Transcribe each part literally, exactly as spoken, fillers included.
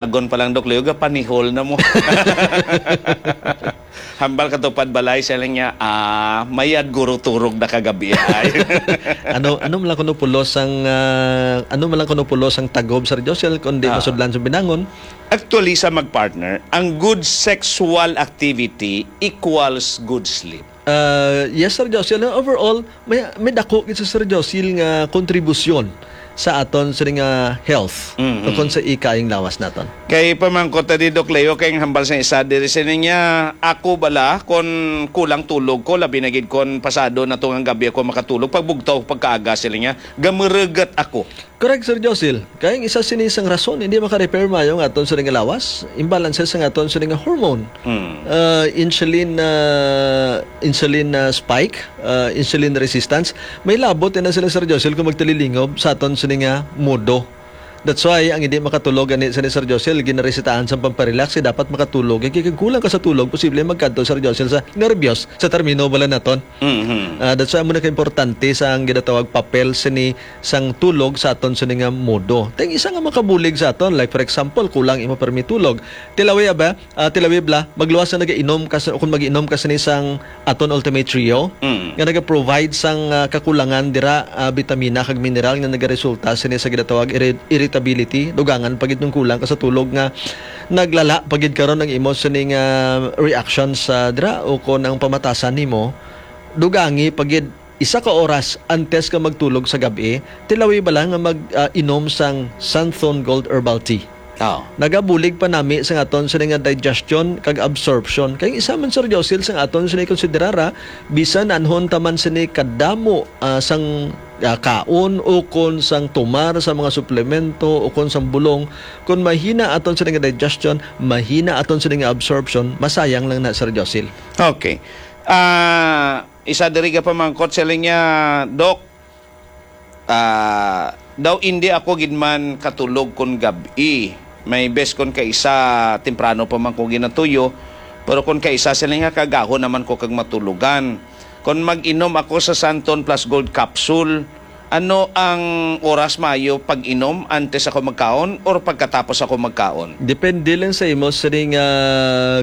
Agon pa lang, Doc Leo, gapanihol na mo. Hambal ka tupad balay, siya lang niya, ah, mayad guro turog na kagabi ay. Ano ano man lang kuno pulos ang ah, ano man lang kuno pulos ang tagob, Sir Josel, kundi Ah. masudlan sa binangon? Actually, sa mag-partner, ang good sexual activity equals good sleep. Ah, yes, Sir Josel. Overall, may may dako gid sa, Sir Josel, nga kontribusyon sa aton sini nga health Mhm. tungkol sa ikaayong lawas naton. Kay pamangkot ta di, Doc Leo, kay ang hambal sa isa diri sini niya, ako bala, kon kulang tulog ko, labi na gid kon pasado na to nga gabi ako makatulog, pagbugtaw pagkaaga sila niya, gamurugat ako. Correct, Sir Josil. Kay ang isa sini sang rason hindi maka-repair maayo ang aton sini nga lawas, imbalances ang aton sini nga hormone. Mm. Ah, insulin ah, insulin ah, spike, ah, insulin resistance. May labot na sila, Sir Josil, kung magtililingob sa aton sini nga modo. That's why ang hindi makatulog ani sini, Sir Josil, ginaresetahan sa pamparelax, eh, dapat makatulog. Eh, kay kag kulang ka sa tulog, posible magkadto, Sir Josil, sa nervyos, sa termino bala naton. Mhm. Ah, that's why muna ka importante sa ang ginatawag papel sini sang tulog sa aton sini nga modo. Tay isa nga makabulig sa aton, like for example, kulang imo permi tulog. Tilawi ba? Ah, tilawi bla, magluwas na nagainom ka sa, kung mag-inom ka sini sang aton Ultimate Trio Mm. nga naga-provide sang ah, kakulangan dira ah, bitamina kag mineral nga nagaresulta sini sa ginatawag irri- irritability, dugangan pa gid kung kulang ka sa tulog nga naglala pa gid karon ang imo sini nga reactions sa dira o kon ang pamatasan nimo dugangi pa gid isa ka oras antes ka magtulog sa gab-i, tilawi bala nga mag ah, inom sang Santhon Gold Herbal Tea. Oh. Nagabulig pa nami sa aton sini nga digestion kag absorption. Kay isa man, Sir Josil, sa aton sini konsiderara, bisan anhon ta man sini kadamo ah, sang ah, kaon o kon sang tumar sa mga suplemento o kon sang bulong, kung mahina aton sini nga digestion, mahina aton sini nga absorption, masayang lang na, Sir Josil. Okay. Ah, isa diri ka pamangkot sa linya, Doc. Ah, daw hindi ako gid man katulog kon gab-i. May bes kon kaisa temprano pa man ko ginatuyo, pero kon kaisa sila nga kagahon naman ko kag matulogan. Kon mag-inom ako sa Santon Plus Gold Capsule, ano ang oras maayo pag-inom, antes ako magkaon or pagkatapos ako magkaon? Depende lang sa imo sini nga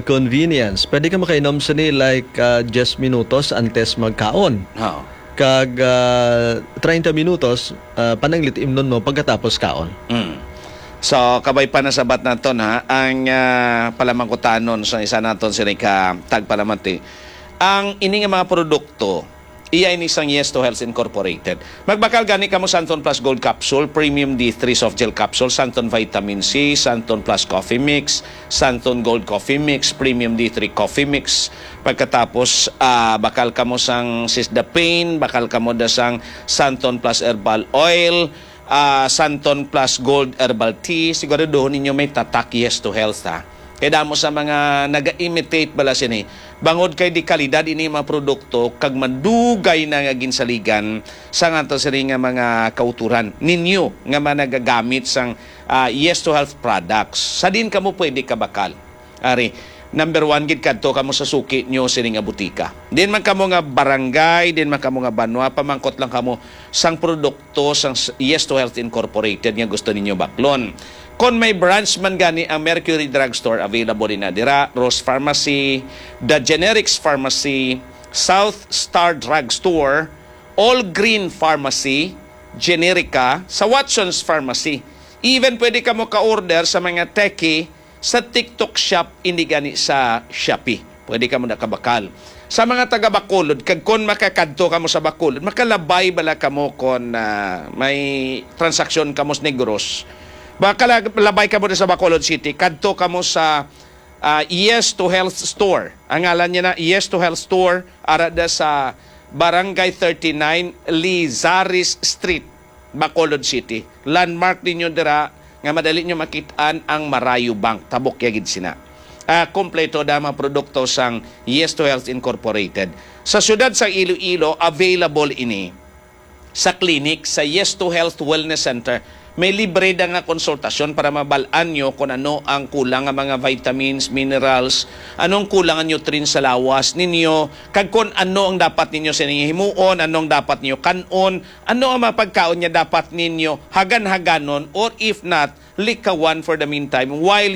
convenience. Pwede ka makainom sini like ah, diyes minutos antes magkaon. Ha. Kag ah, treinta minutos ah, pananglit imnon mo pagkatapos kaon. Mm. So, kabay pa na sabat naton, ha, ang ah, palamangkutanon sa isa naton sini ka tagpalamati. Ang ini nga mga produkto, iya ini sang Yes to Health Incorporated. Magbakal gani kamo Santon Plus Gold Capsule, Premium D three Soft Gel Capsule, Santon Vitamin C, Santon Plus Coffee Mix, Santon Gold Coffee Mix, Premium D three Coffee Mix. Pagkatapos, ah, bakal kamo sang Sisda Pain, bakal kamo da sang Santon Plus Herbal Oil, ah, Santon Plus Gold Herbal Tea. Siguraduhon ninyo may tatak Yes to Health, ha. Kay damo sa mga naga-imitate bala sini. Bangod kay di kalidad ini mga produkto kag madugay na nga ginsaligan sa nga to sini nga mga kauturan ninyo nga mga nagagamit sang ah, Yes to Health products. Sa din kamo pwede kabakal? Ari, number one gid, kadto kamo sa suki nyo sini nga butika. Din man kamo nga barangay, din man kamo nga banwa, pamangkot lang kamo sang produkto sang s- Yes to Health Incorporated nga gusto ninyo baklon. Kon may branch man gani ang Mercury Drugstore, available din na dira, Rose Pharmacy, The Generics Pharmacy, South Star Drugstore, All Green Pharmacy, Generica, sa Watson's Pharmacy. Even pwede kamo ka-order sa mga Teki sa TikTok Shop, indi gani sa Shopee. Pwede kamo nakabakal. Sa mga taga Bacolod, kag kon makakadto kamo sa Bacolod, makalabay bala kamo kon ah, may transaksyon kamo sa Negros. Makalabay kamo na sa Bacolod City, kadto kamo sa ah, Yes to Health Store. Ang ngalan niya na Yes to Health Store, ara da sa Barangay thirty-nine, Lizares Street, Bacolod City. Landmark ninyo dira nga madali nyo makit-an ang Marayo Bank. Tabok ya gid sina. Ah, kompleto da mga produkto sang Yes to Health Incorporated. Sa siyudad sa Iloilo, available ini sa clinic sa Yes to Health Wellness Center. may libre da nga konsultasyon para mabal-an nyo kung ano ang kulang nga mga vitamins, minerals, anong kulang ang nutrients sa lawas ninyo, kag kung ano ang dapat ninyo sa ninyo himuon, anong dapat ninyo kan-on, ano ang mga pagkaon nga dapat ninyo hagan-haganon, or if not, likawan for the meantime while